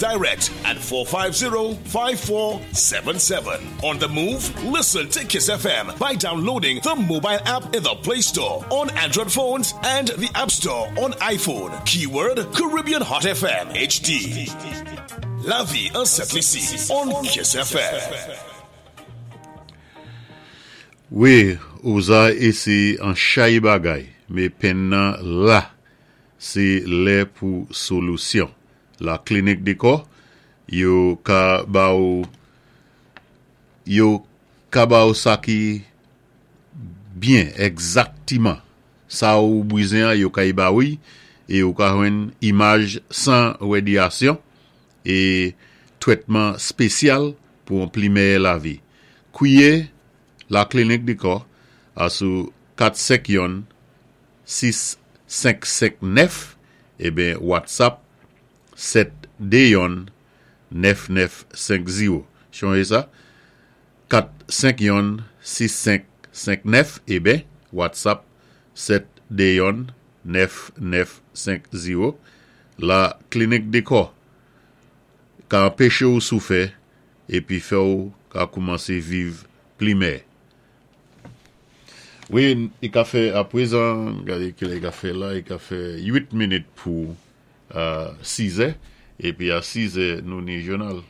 direct at 450-5477. On the move, listen to Kiss FM by downloading the mobile app in the Play Store on Android phones and the App Store on iPhone. Keyword Caribbean Hot FM HD. Lavi an Sent Lisi on Kiss FM. Wi, usa éséyé an chay bagay, mé penn nan la. Sé lè pou solusyon. La Clinique des Corps, yo ka ba ou yo ka ba ou sa ki byen, egzaktiman sa ou bwizen an yo kay ba ou y, é ou ka jwenn imaj san radyasyon é twètman spésyal pou an pli mèyè lavi. Kwié La Clinique des Corps a sou 4 5 1 6 5 5 9 eben WhatsApp 7 2 1 9 9 5 0. Chonjé sa 4 5 1 6 5 5 9 eben WhatsApp 7 2 1 9 9 5 0. La Clinique des Corps ka anpéché ou soufè épi fè ou ka koumansé viv pli mèyè. Wi, i ka fè apwézan, gadé kilè i ka fè la, i ka fè 8 minit pou 6 è, épi a 6 è nou ni jounal.